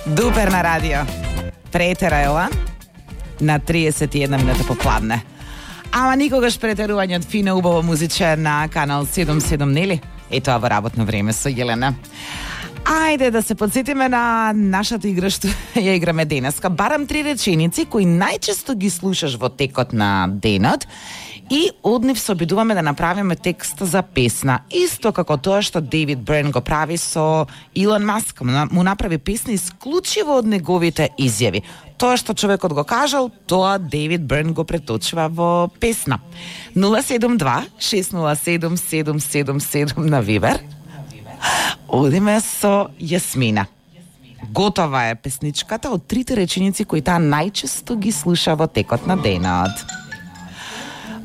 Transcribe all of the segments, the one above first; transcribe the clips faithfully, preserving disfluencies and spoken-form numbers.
Дупер на радио. Претера е ова на триесет и една минута попладне. Ама никогаш претерување од фина убава музиче на канал седум седум, нели? Е тоа во работно време со Јелена. Ајде да се подсетиме на нашата игра што ја играме денеска. Барам три реченици кои најчесто ги слушаш во текот на денот и од нив се обидуваме да направиме текст за песна. Исто како тоа што Дейвид Бирн го прави со Илон Маск. Му направи песна исклучиво од неговите изјави. Тоа што човекот го кажал, тоа Дейвид Бирн го преточува во песна. нула седум два шест нула седум седум седум седум на Вибер. Одиме со Јасмина. Готова е песничката од трите реченици кои таа најчесто ги слуша во текот на денот.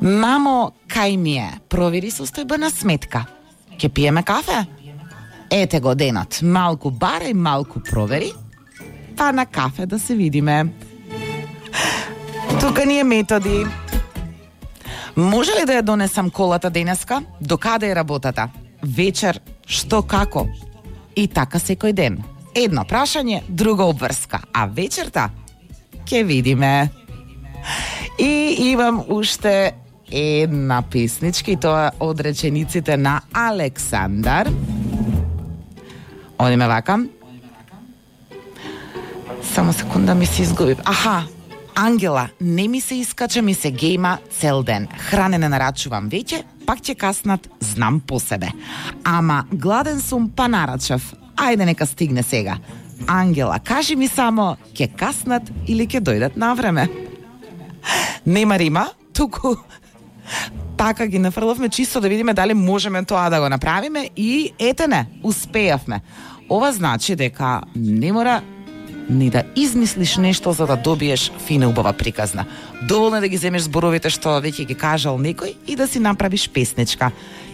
Мамо, кај ми е? Провери состојбена сметка. Ке пиеме кафе? Ете го денот. Малку барај, малку провери. Па на кафе да се видиме. Тука ни е Методи. Може ли да ја донесам колата денеска? До каде е работата? Вечер, што како? И така секој ден. Едно прашање, друга обврска. А вечерта? Ке видиме. И имам уште една песничка и тоа од речениците на Александар. Одиме вака. Само секунда ми се изгубив. Аха, Ангела, не ми се искача, ми се гейма цел ден. Хране не нарачувам веќе, пак ќе каснат, знам по себе. Ама гладен сум, па нарачав. Ајде нека стигне сега. Ангела, кажи ми само, ќе каснат или ќе дојдат на време? Нема рима, туку така ги нафрлавме чисто да видиме дали можеме тоа да го направиме и ете не, успеавме. Ова значи дека не мора ни да измислиш нешто за да добиеш фина убава приказна. Доволно е да ги земеш зборовите што веќе ги кажал некој и да си направиш песничка.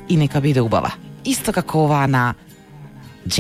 И нека биде убава. Исто како ова на